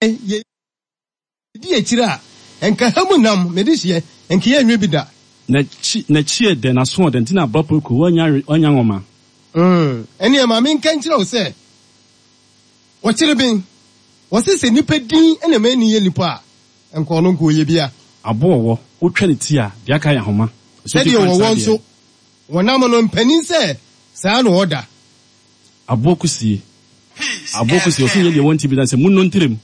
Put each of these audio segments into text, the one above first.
Yɛdi akyire a, nka ha mu nam, me dehyeɛ, nka yɛnwe bi da. N'akyi, n'akyi yɛ dɛ, n'aso ɔdɛ, nti na abra poku, wannya, wannya nwoma. Mm, ɛneɛ ma menka nkyerɛ wo sɛ, wɔkyere ben, wɔse sɛ nipa din na ɛma ani yɛ nipa a, nka ɔno nka ɔyɛ bia. Aboɔ wɔ, wotwa ne ti a, deɛ aka yɛ ahoma. Sɛdeɛ wɔwɔ nso, wɔnam no, mpanin sɛ saa na ɔda. Aboɔ kusie, aboɔ kusie, ɔse nyɛ deɛ wɔnte bi da sɛ munnɔ ntirem.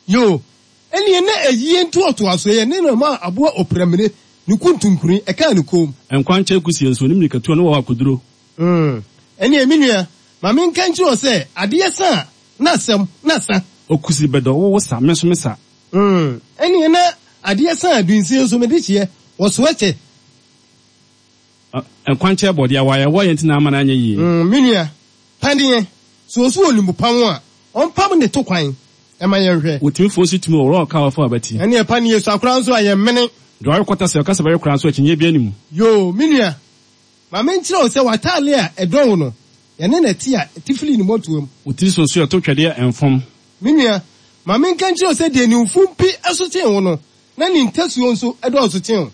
Yoo, ɛnneɛ na ayie ntoatoasoɔ yɛ ne na ɔmaa aboa ɔpiramire ne kuntunkuni ɛkaa ne kɔn mu. Nkwankyɛn kusie nso, ne mmirikatuo ne wɔwɔ akoduro. Mm, ɛnneɛ me nua, ma menka nkyerɛ wo sɛ, adeɛ sa a, na asɛm, na sa. Okusi bɛdɔ, wo wo sa, me nso me sa. Mm, ɛnneɛ na adeɛ sa a, dunsie nso, mede hyeɛ, wɔsoɛ kyɛ. Nkwankyɛn bɔ, deɛ wɔayɛ wɔyɛ nti na ama no anyɛ yie. Mm, me nua, paneɛ, sɛ ɔso ɔnim pam a, ɔmpam ne to kwan ma yɛnhwɛ. Wotumi fo nso tumi wɔ ɔka a ɔfa abati. Ɛneɛ paneɛ sua koraa nso a yɛmmene. Deɛ ɔwe kɔta sɛ ɔka sɛ bɛwe koraa nso akyinnyeɛ biara nni mu. Yoo, me nua, ma menkyerɛ wo sɛ w'atadeɛ a ɛdɔ wo no, yɛne na ɛte a, ɛte firi ne mmɔtoam. Wo tiri so nso yɛto twɛdeɛ mfom. Me nua, ma menka nkyerɛ wo sɛ deɛ ne mfompi so kyɛn wo no, na ne ntasuo nso dɔɔso kyɛn wo.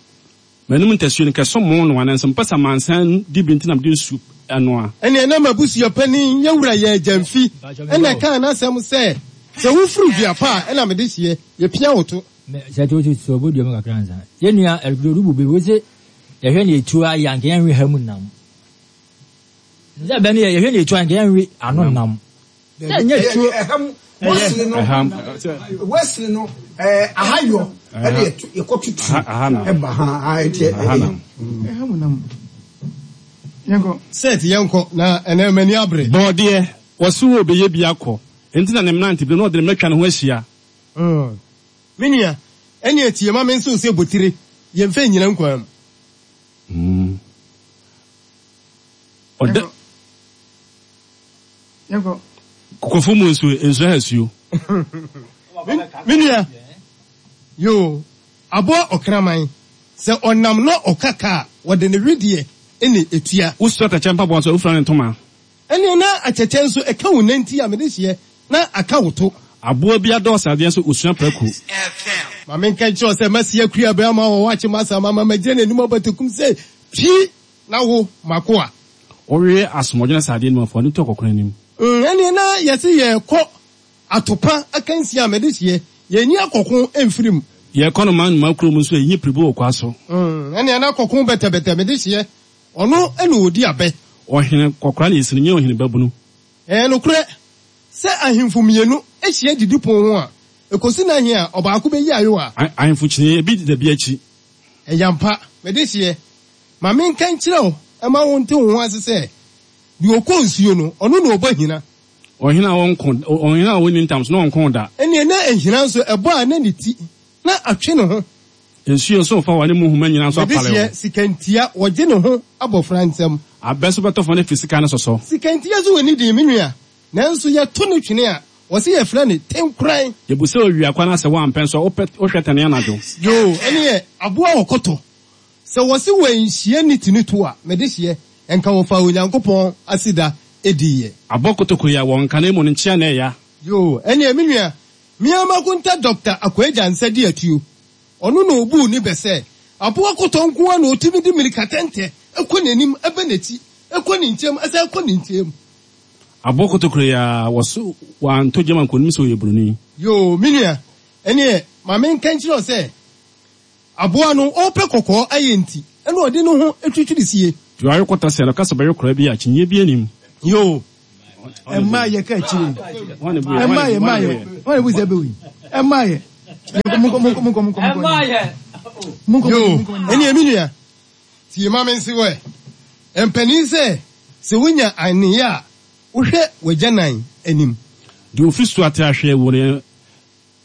M'anom ntasuo no, kɛsɔ mo noa, nanso mepɛ sɛ amansan di bi nti na mede nsu noa. Ɛnneɛ na m'abusua panin, yɛn wura yɛ agyamfi, ɛna ɛkaa n'asɛm sɛ, Sɛ wofiri dua pa a, ɛna mede hyeɛ, yɛpia wo to. Sɛ to to to ɔbɔ dua mu kakra ansa. Yɛn nua Eric Odu Bube wei se yɛhwɛ nea etuo ayɛ anka yɛnwe ha mu nam. Sɛ bɛ no yɛ yɛhwɛ nea etuo ayɛ anka yɛnwe ano nam. Sɛ nyɛ tuo. Ɛham Wesley no Wesley no ɛɛ ahayɔ ɛna yɛkɔ tutu ɛba ha ha ɛti ɛyɛ. Ɛham nam. Yɛnkɔ. Seth yɛnkɔ na ɛnɛ m'ani abere. Bɔɔdeɛ, wɔse wo bɛyɛ bi akɔ, enti na ne mmerantebere no ɔde ne mma atwa ne ho ahyia. Me nua, ɛnneɛ tie ma mense wo sɛ botire, yɛmfa nnyina nkwa mu. Ɔda. Yɛnkɔ. Kokofo mu nsuo, nsuo ha suo. Me nua, yoo, aboa ɔkraman, sɛ ɔnam na ɔka ka a, wɔde ne wedeɛ na ɛtua. Wosua atɛkyɛ mpaboa nso a, wofira ne ntoma. Ɛnneɛ na atɛkyɛ nso ɛka wo nanti a mede hyeɛ na aka wo to. Aboa bi adɔ ɔsradeɛ nso, ɔsua prako. Ma menka nkyerɛ wo sɛ masi akua bɛrima a ɔwɔ akyem asam ama magyina n'anim abatakum sɛ, Twi! Na wo, m'akoa. Wowe asoɔmɔdwene sradeɛ no mu afoa no tu akɔkono anim. Ɛnneɛ na yɛse yɛrekɔ atopa akansie a mede hyeɛ, yɛnyi akɔko mfiri mu. Yɛrekɔ no man nnomaa kurom nso yɛnyi piribu wɔ kwa so. Ɛnneɛ na kɔko bɛtɛbɛtɛ mede hyeɛ, ɔno na ɔdi abɛ. Ɔhene kɔkora na yɛsi no nyɛ ɔhene babunu. Ɛyɛ nokorɛ sɛ ahemfo mmienu hyia didipon ho a, ɛkɔsi nna he a ɔbaako bɛyi ayowa? Ahemfo kyini, ebi deda bi akyi. Ɛyɛ ampa, mede hyeɛ, ma menka nkyerɛ wo ma wonte wo ho ase sɛ, deɛ ɔkɔ nsuo no, ɔno na ɔbɔ ahina. Ɔhene a ɔnko, ɔhene a ɔnni ntam so na ɔnko da. Ɛnneɛ na ahina nso ɛbɔ a na ne ti na atwe ne ho. Nsuo nso mfa w'ane mu nhoma nyinaa nso Mede apale hyeɛ, wo. sikantia, wɔgye ne ho abɔfra nsam. Abɛ nso bɛtɔ fam na afiri sika no sɔsɔ. Sikantia nso wɔ ne din, me nua, nanso yɛto no twene a, wɔse yɛfrɛ no tenkoran. Yɛbu sɛ owia kwan na sɛ woampɛ nso a, wopɛ, wohwɛ tɛnee anadwo. Yoo, ɛneɛ aboa ɔkɔtɔ. Sɛ wɔse wɔanhyia ne ti no to a, mede hyeɛ, nka wɔfaa Onyankopɔn aseda diiɛ. Abɔ kotoko ya wɔ nka na emu no nkyea na ɛya. Yoo, ɛneɛ me nua, me ara m'akonta Dɔkta Akwaa Gyansa di atuo. Ɔno na ɔbuu ne bɛ sɛ, aboa kɔtɔ nko ara na ɔtumi de mmirika tɛntɛ kɔ n'anim, ba n'akyi, kɔ ne nkyɛm, san kɔ ne nkyɛm. Aboa kotokuro yi ara, wɔso wantɔ gyam anka ɔnim sɛ ɔyɛ buroni. Yoo, me nua, ɛneɛ ma menka nkyerɛ wo sɛ, Aboa no ɔrepɛ kɔkɔɔ ayɛ nti ɛna ɔde ne ho twitwiri sie. Deɛ ɔwe kɔtɔ sɛ no ka sɛ ɔbɛwe koraa bi a, akyinnyeɛ biara nnim. Yoo. Ɛmmaa yɛ ka akyire. Ɛmmaa yɛ mmaa yɛ. Wɔn na ebu sɛ ɛbɛwi. Ɛmmaa yɛ. Monkɔ monkɔ monkɔ monkɔ. Ɛmmaa yɛ. Monkɔ Yoo. monkɔ. Ɛnneɛ me nua, tie ma mense wo ɛ. Mpanin sɛ, sɛ wonya aneyɛ a, wohwɛ w'agyanan anim. Deɛ ɔfiri soro ate ahwɛ wɔ ne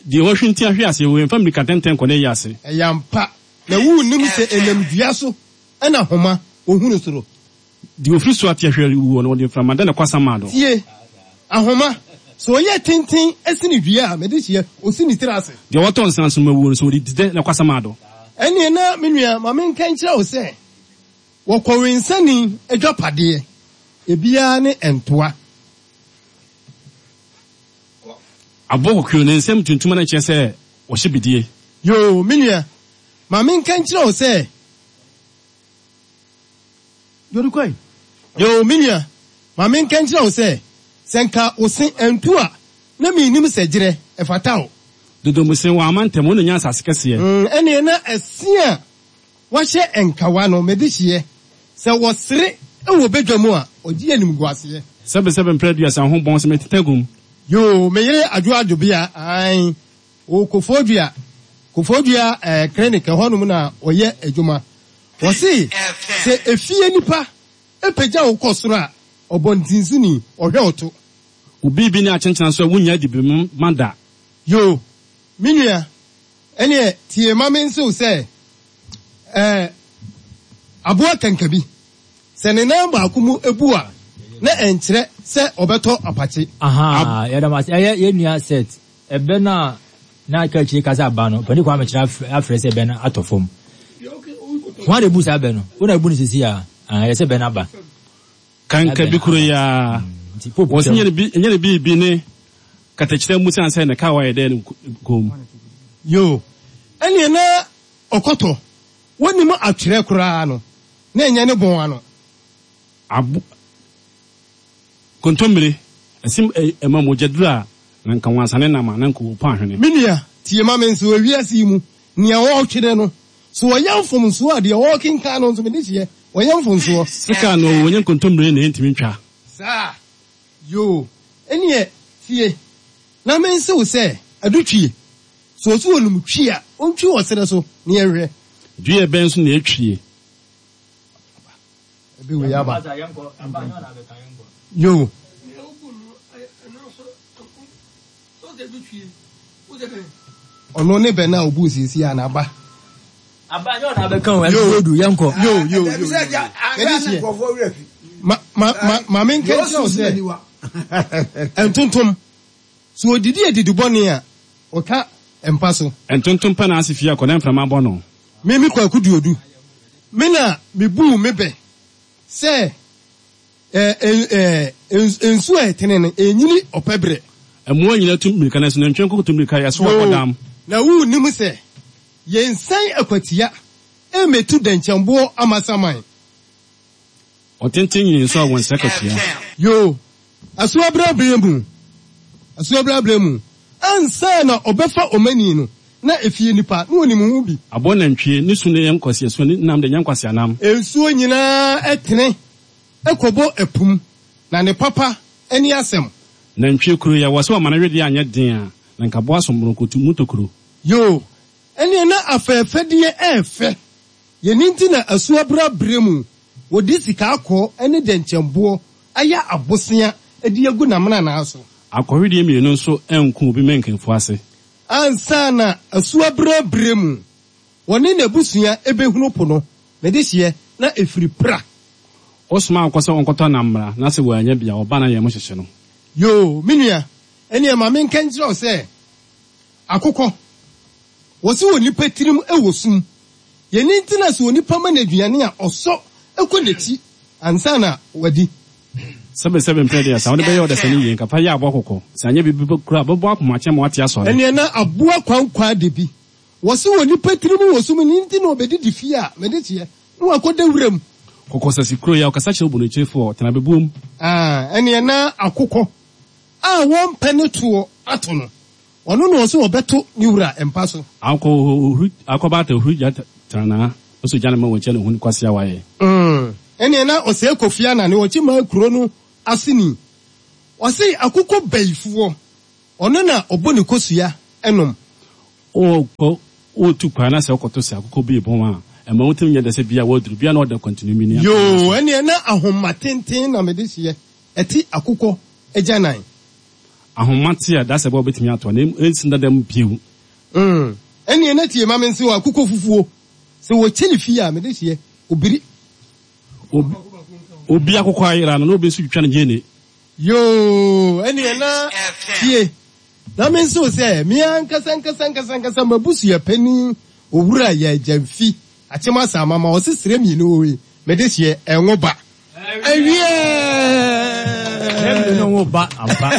Deɛ wahwinti ahwe ase, wemfa mmirika tɛntɛn nkɔ n'ayi ase. Ɛyɛ ampa, na wonnim sɛ ɛnam dua so na homa wɔhunu soro. Deɛ ɔfiri soro ate ahwe wuo no, wɔde mframa da no kɔ asamando. Tie, ahoma, sɛ ɔyɛ tenten sene dua a, mede hyeɛ, ɔsi ne tiri ase. Deɛ ɔtɔ nsã nso ma wuo no, sɛ ɔde di dɛ na kɔ asamando. Ɛnneɛ na, me nua, ma menka nkyerɛ wo sɛ, wɔkɔwensani adwapadeɛ, ebiara ne ntoa. Aboɔ kɔkɔɔ ne nsam tuntum na ɛkyerɛ sɛ ɔhyɛ bidie. Yoo, me nua, ma menka nkyerɛ wo sɛ. Dori kɔe. Yoo, me nua, ma menka nkyerɛ wo sɛ, sɛ nka wo se antu a, na mennim sɛ gyerɛ, ɛfata wo. Dodomuse, wɔ amantam, wo na nya asase kɛseɛ. Mm, ɛnneɛ na ɛse a wɔahyɛ nkawa no, me dehyeɛ, sɛ wɔsere wɔ badwa mu a, ɔgye animguaseɛ. Sɛbesɛbe mprɛ aduasa ho bɔn sɛ meteta gum. Yoo, me yere Adwo Adwobea, ae, wɔ Kofoɔdua, Kofoɔdua eh, clinic, ɛhɔnom na ɔyɛ adwuma. Wɔse sɛ efie nipa pagya wo kɔ soro a, ɔbɔntensoni, ɔhwɛ wo to. Wo biribi ne akyenkyena so a wunnya adi ma da. Yoo, me nua, ɛneɛ tie ma me nse wo sɛ, ɛɛ, aboa kankabi, sɛ ne nan baako mu bu a, na ɛnkyerɛ sɛ ɔbɛtɔ apakye. Ahaa, yɛda mo ase. Ɛyɛ yɛn nua Seth, ɛbɛ no a na aka akyire ka sɛ aba no, Ɔpanin Kwame kyerɛ afrɛ sɛ ɛbɛ no atɔ fam. Hwan na ebu saa bɛ no? Wo na ebu no sisi a? Ah, ɛyɛ sɛ bɛ no aba. Kanka bi koro yi ara. Wɔsi nyɛ ne biribi ne katakyerɛ mu siane sɛ ne kaa wayɛ dɛ ne kɔn mu. Yoo, ɛneɛ na ɔkɔtɔ, wɔnnim atwerɛ koraa no, na ɛnyɛ ne bɔn ano. Abo, kontommire, ɛse ɛma mogya duru a, na nka wansane nam a, na nka ɔrepu ahwene. Me nua, tie ma me nso, wɔ wiase yi mu, nea ɔretwerɛ no, so ɔyɛ mfomsoɔ a, deɛ ɔrekenkan no nso, me dehyeɛ, ɔyɛ mfomsoɔ. Sika no, wɔnyɛ nkontommire na ɛntumi ntwa. Saa? Yoo, ɛnneɛ tie, na mense wo sɛ, adutwie, sɛ ɔse ɔnim twi a, ɔntwi wɔ serɛ so, na yɛnhwɛ. Dua bɛn so na ɛtwie? Ebi wei aba. Yo. Ɔno ne bɛ na obu siesie a n'aba. Aba nyɛ ɔna abɛka o ɛbi odu yɛn kɔ. Yo yo yo. Ɛdi seɛ. Ma ma ma maame nkɛnkyɛn o sɛ ntontom so odidi edidi bɔne a ɔka mpa so. Ntontom pɛ n'ase fie akɔ na mframa bɔ no. Me me Kwaku Duodu, me na mebuu me bɛ sɛ nsuo a ɛtene no, ɛnyini ɔpɛ berɛ. Mmoa nyinaa tu mmirika, nanso nantwie nko tu mmirika, yɛsow akɔdam. Na wonnim sɛ yɛnsian akwatia mmɛtu dɛnkyɛmboɔ amasaman. Ɔtenten nyini nso a wɔnsɛ akatua. Yoo, asuabra berɛ mu, asuabra berɛ mu, ansa na ɔbɛfa ɔmani no, na efie nipa, na ɔnim ho bi. Aboa nantwie, ne su no yɛ nkwaseasuo, ne nam deɛ nyɛ nkwaseanam. Nsuo nyinaa tene kɔbɔ ɛpo mu, na ne papa ne asɛm. Nantwie kuro yɛ wɔ sɛ ɔma ne wedeɛ anyɛ den a, na nka aboa asommoronkotu mu tokuro. Yoo, ɛneɛ na afɛɛfɛdeɛ ɛɛfɛ. Yɛn nti na asuabra berɛ mu wɔde sika akɔɔ ne dɛnkyɛmboɔ ayɛ abosea de agu n'amenanaa so. Akɔhwedeɛ mmienu nso anku obi mankanfu ase. Ansa na asuabra berɛ mu wɔne n'abusua bɛhunu po no, ne dehyeɛ na ɛfiri Pra. Wosoma akokɔ sɛ ɔnkɔtɔ nam mmra, na sɛ wannya bi a, ɔba na yɛn mo hyehye no. Yoo, me nua, ɛnneɛ ma menka nkyerɛ wo sɛ, Akokɔ, wɔse onipa tirim wɔ sum. Yɛn nti na sɛ onipa ma no aduane a, ɔsɔ kɔ n'akyi ansa na wadi. Sɛbesɛbe mprɛ deɛ, sɛ wode bɛyɛ ɔdasani yie, nka fa yɛ aboa kɔkɔ. Sɛ anyɛ biribi mpo koraa a, bɛbɔ akomakyɛ ma wate asɔre. Ɛnneɛ na aboa kwankwaa da bi. Wɔse onipa tirim wɔ sum, ɛno nti na ɔbɛdidi fie a, mede kyeɛ, na wakɔda wuram. Kɔkɔsasi kuro yi a, ɔkasa kyerɛ obonokyerefo a, ɔtena bebuom. Ah, ɛnneɛ na akokɔ a wɔmpɛ ne toɔ ato no. Ɔno na ɔse ɔbɛto ne wura mpa so. Akɔ ohuri akɔ baata ohuri gya tranaa ɔsɔ gya no ma wɔnkyɛ ne ho ne kwasea wayɛ. Mm ɛneɛ na ɔsɛe Kofi Annan ne ɔkyemaa kuro no aseni. Ɔse akokɔ bayifoɔ ɔno na ɔbɔ ne kosua nom. Wokɔ wotu kwan na sɛ wokɔto sɛ akokɔ bi rebɔn a, ɛmma wo tirim nyɛ dɛ sɛ bia woaduru bia na ɔda kwantinumini akonnwa so. Yoo ɛneɛ na ahoma tenten na mede hyeɛ ɛte akokɔ agyanan. Ahoma te a, dasɛ bɛ a wobɛtumi ato a, na ɛnsi dada mu bio. Mm, ɛnneɛ na tie ma mense wo, akokɔ fufuo, sɛ wɔkyɛ ne fie a, mede hyeɛ, obiri. Obi, obi akokɔ ayera no, na obi nso twitwa no gyeene. Yoo, ɛnneɛ na tie na mense wo sɛ, me ankasa ankasa ankasa ankasa m'abusua panin, Owura Yaa Gyamfi, Akyem Asaama, ma ɔse srɛ mmienu wɔ yi, mede hyeɛ, ɛnwo ba. Awiɛɛ! Ɛɛ no wo ba ampa.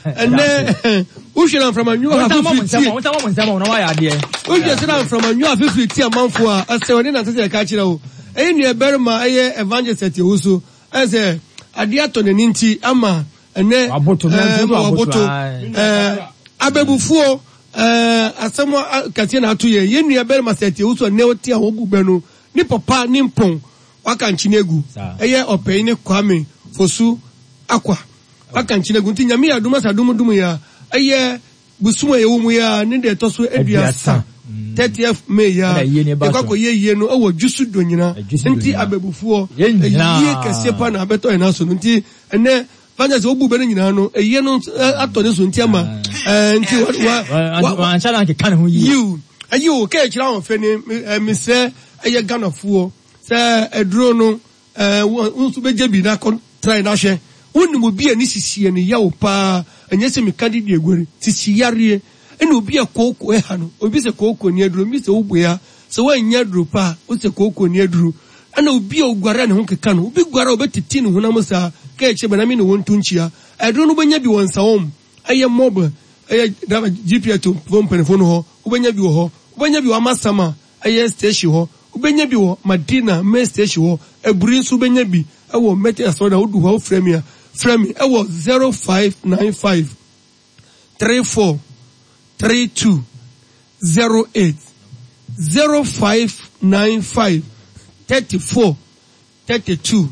Ɛnɛ wohwɛ na mframa nwa afifiri tie. Wo nsa mo nsɛm na wayɛ adeɛ. Wohwɛ sɛ na mframa nwa afifiri tie amanfo a ɛsɛ ɔne nante sɛ ɛka kyerɛ wo. Ɛyɛ nua barima ɛyɛ evangelist Atiawu so ɛyɛ sɛ adeɛ atɔ n'ani nti ama ɛnɛ Waboto, ɛɛ ma waboto ae. ɛɛ abɛbufuo ɛɛ asɛm kɛseɛ na ato yɛ yɛn nua barima sɛ Atiawu so ɛnɛ ɔte a wɔbu bɛ no ne papa ne mpɔn waka nkyene agu ɛyɛ ɔpɛyi ne Kwame Fosu Akwa waka nkyene agu nti Nyame yɛ adom asa adom dom yɛ a ɛyɛ bosom a yɛwɔ mu yɛ a ne deɛ ɛtɔ so 30 30th May yɛ a yɛkɔ akɔyɛ yie no ɛwɔ Dwusu Donyina nti abɛbufoɔ ɛyie kɛseɛ pa na abɛtɔ yɛn aso no nti ɛnɛ fanya sɛ wobu bɛ no nyinaa no ɛyie no atɔ ne so nti ama nti wa wa wanhyɛ da nkeka ne ho yie. Yiw ɛyi o kɛ ɛkyerɛ ahoɔfɛ ne mesrɛ ɛyɛ Ghanafoɔ sɛ aduro no ɛɛ wo nso bɛgye bi na kɔ try na hwɛ. Wonim obi a ne sisi yɛ no yaw paa, ɛnyɛ sɛ meka de di aguare, sisi yareɛ, ɛna obi a kooko ɛha no, obi sɛ kooko ni aduro, obi sɛ woboa, sɛ woannya aduro pa a, wosɛ kooko ni aduro, ɛna obi a oguare a ne ho keka no, obi guare a obɛtete ne honam saa, ka ɛkyɛ bɛ na me ne wɔn nto nkyia. Aduro no wobɛnya bi wɔ Nsawam, ɛyɛ mob, ɛyɛ GPS foɔ mpanimfoɔ no hɔ, wobɛnya bi wɔ hɔ, wobɛnya bi wɔ Amasama, ɛyɛ station hɔ, wobɛnya bi wɔ Madina main station hɔ, Aburi nso wobɛnya bi wɔ Methodist asɔredan, wodu hɔ a wofrɛ me a, frɛ me wɔ 0595 34 32 08, 0595 34 32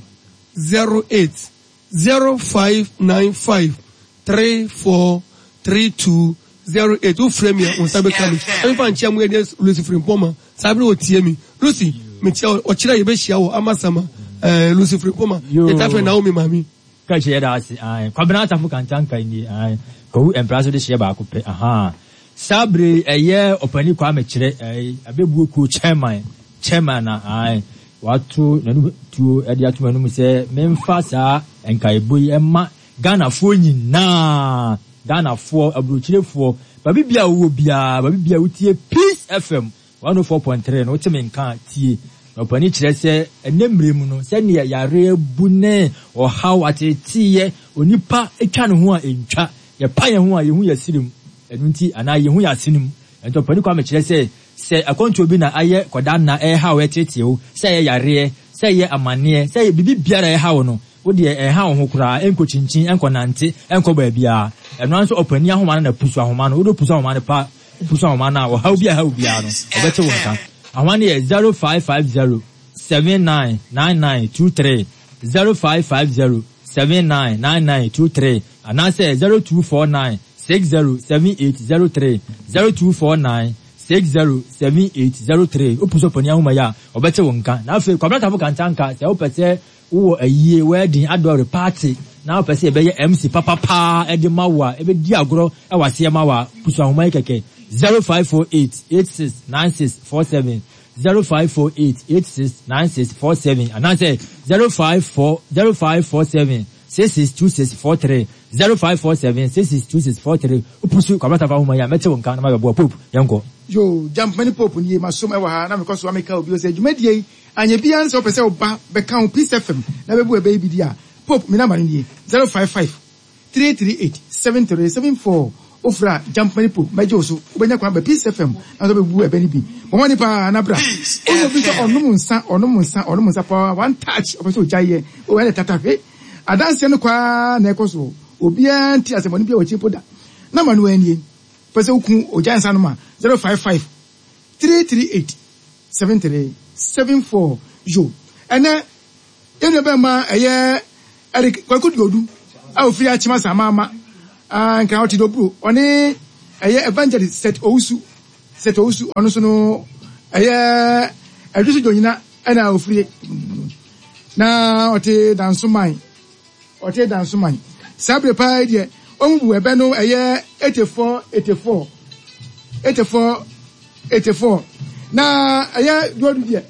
08, 0595 34 32 08. Wofrɛ me a, wo nsa bɛka me. Ɛmfa nkyea mu ɛdeɛ Lucy Frimpong Saa bere otie mi. Lucy, mekyia wo. Ɔkyerɛ yɛbɛhyia wɔ Amasama. Eh, Lucy Frimpong Yɛtaa frɛ Naomi maame. Ka kyerɛ yɛda ase ae. Kwabena Asafo Kantanka nie ae. Kwawu Mpra so de hyeɛ baako pɛ ahaa. Saa bere yi ɛyɛ Ɔpani Kwame Kyerɛ ae Abɛbuo kuo chairman chairman na ae wato n'anum tuo de ato m'anum sɛ memfa saa nkaebɔ yi mma Ghanafoɔ nyinaa Ghanafoɔ aburokyirefoɔ baabi biara a wowɔ biara baabi biara a wotie Peace FM 104.3 no wote me nka a tie. Na ɔpanin kyerɛ sɛ ɛnnɛ mmerɛ mu no sɛdeɛ yareɛ abu ne ɔhaw ateeteeɛ onipa twa ne ho a ɛntwa, yɛpa yɛn ho a yɛhu yɛn srɛ mu ɛno nti anaa yɛhu yɛn asene mu. Ɛnti ɔpanin Kwame kyerɛ sɛ sɛ akwantuo bi na ayɛ kɔda nna ɛrehaw ɛreteetee wo, sɛ ɛyɛ yareɛ, sɛ ɛyɛ amaneɛ, sɛ ɛyɛ biribi biara a ɛreha wo no, wo deɛ ɛnha wo ho koraa, ɛnkɔ kyinkyin, ɛnkɔ nante, ɛnkɔ baabiara. Ɛno ara nso ɔpanin ahoma no na pusu ahoma no, wode pusu ahoma no pa Wopusu ahoma no a, ɔhaw bi a ɛha wo biara no, ɔbɛte wo nka. Ahoma no yɛ 0550 79 9923, 0550 79 9923, anaasɛ 0249 60 7803, 0249 60 7803. Wopusu ɔpanin ahoma yi a, ɔbɛte wo nka. Na afei, Kwabena Tafo Kantanka, sɛ wopɛ sɛ Wowɔ ayie, wedding, adɔre, party na wopɛ sɛ yɛbɛyɛ MC papa paa de ma wo a, ɛbɛdi agorɔ wɔ aseɛ ma wo a, pusu ahoma yi kɛkɛ, 0548 86 96 47, 0548 86 96 47 anaasɛ 054 0547 66 26 43, 0547 66 26 43. Wopusu Kwabena Tafa ahoma yi a, mɛte wo nka na mabɛboa. Pope, yɛnkɔ. Yoo, Gyampani Pope nie, masom wɔ ha na mekɔ so a meka obi o sɛ dwumadie yi Anyɛ biaa no sɛ wopɛ sɛ woba bɛka wo Peace FM na bɛbu ɛbɛ yi bi di a, Pope me number no nie, 055 338 7374 Wofrɛ a Gyampani Pope mɛgye wo so, wobɛnya kwan aba Peace FM na nso abɛbu ɛbɛ no bi. Bɔ mmɔden paa na bra. Wonya obi sɛ ɔnom nsa, ɔnom nsa, ɔnom nsa paa, one touch, ɔpɛ sɛ ɔgyae yɛ, oh ɛne tatahwe. Adanseɛ no kɔ ara na ɛkɔ so, obiara nte asɛmmɔne biara wɔ akyiri mpo da. Number no ara nie, wopɛ sɛ woku ogyae nsa nom a, 055 338 73 74 Yo, ɛnɛ yɛn nua bɛrima ɛyɛ Eric Kwaku Duodu a ofiri Akyem Asamama a Nkran ɔte Doburo ɔne ɛyɛ Evangelist Seth Owusu Seth Owusu ɔno nso no ɛyɛ Ɛdwoso Dwonyina ɛna ofiri na ɔte Dansoman Ɔte Dansoman. Saa bere paa yi deɛ, wɔn bu ɛbɛ no ɛyɛ 84, 84, 84, 84. Na ɛyɛ duodu deɛ,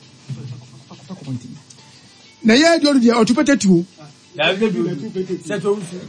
na ɛyɛ duodu deɛ ɔtu pɛtɛ tuo.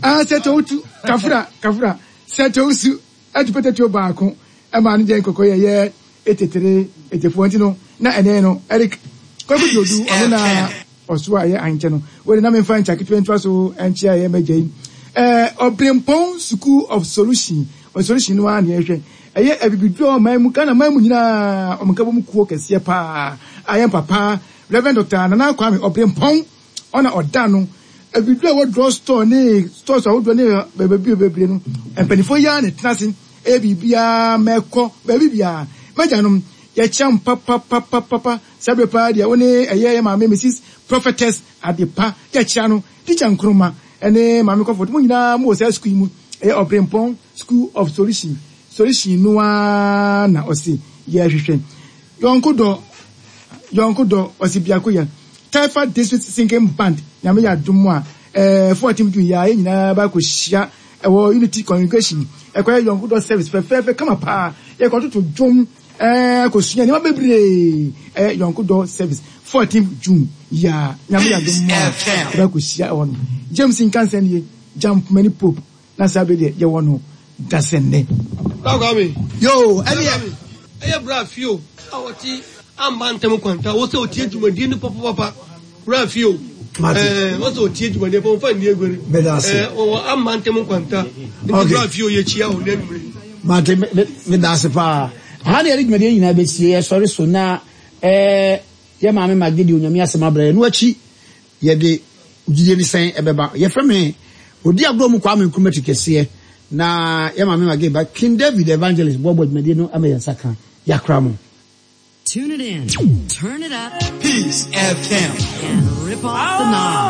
Ah, sɛ towutu, kafra, kafra, sɛ towusu, ɛtu pɛtɛ tuo baako, ɛma no deɛ nkɔkɔ yɛ yɛ 83, 84 nti no, na ɛnɛ no, Eric Kwaku Duodu, ɔno na Ɔso a ɛyɛ ankyɛ no, wei de na memfa nkya ketewa ntoa so nkyea ɛyɛ m'agya yi. Ɛɛ Ɔbrempɔn School of Solution, Solution no ara na yɛhwɛ. Ɛyɛ Abibiduro ɔman mu, Ghana man mu nyinaa wɔn nkabom kuo kɛseɛ paa a yɛn papa Rev. Dɔkta Nana Kwame Ɔbrempɔn ɔna ɔda ano. Abibiduro a ɛwɔ drug store ne stores ahodoɔ ne baabi bebree no, mpanimfoɔ yi ara na ɛtena ase ɛyɛ biribiara ma ɛkɔ baabi biara. M'agyanom, yɛkyia mo papapapapa. Saa berɛ paa deɛ wo ne ɛyɛ yɛn maame Mrs. Prophetess Adepa yɛkyia no, Teacher Nkrumah ne Maame Comfort, mo nyinaa mowɔ saa sukuu yi mu, ɛyɛ Ɔbrempɔn School of Solution, solution no ara na ɔse yɛhwehwɛ. Yɔnko dɔ, yɔnko dɔ, ɔse biako yɛ. Taifa District Singing Band, Nyame yɛ adom a, ɛɛ 14 June yi ara yɛn nyinaa bɛ akɔhyia ɛwɔ Unity Congregation, ɛkɔyɛ yɔnko dɔ service fɛfɛɛfɛ kama paa, yɛkɔtoto dwom, ɛɛ akɔsua nneɛma bebree, ɛyɛ yɔnko dɔ service 14 June yi ara, Nyame yɛ adom a, yɛbɛ akɔhyia ɛwɔ no. James Nkansah nie, Jampmani Pope. Na saa bere deɛ yɛwɔ no dasɛnnɛ. Bra Kwame. Yoo ɛneɛ. Ɛyɛ bra fio a ɔte amba ntɛm kwanta wɔ sɛ ɔtie dwumadie no papapapa bra fio ɛɛ wɔ sɛ ɔtie dwumadie papa ɔmfa nni aguare ɛɛ ɔwɔ amba ntɛm kwanta nti bra fio yɛkyia wo nɛ anwummerɛ yi. Mate meda ase paa. Aha na yɛde dwumadie nyinaa bɛsie yɛsɔre so na ɛɛ yɛ maame Maggie de Onyame asɛm abrɛ yɛn no akyi Yɛde gyidie ne sɛn ɛbɛba? Yɛfrɛ me Odi agorɔ mu Kwame Nkrumah ti kɛseɛ na yɛ maame Maggie ba King David Evangelist boaboa dwumadie no ama yɛn nsa ka. Yɛakora mo. Tune it in, turn it up, Peace FM. and rip off the knob.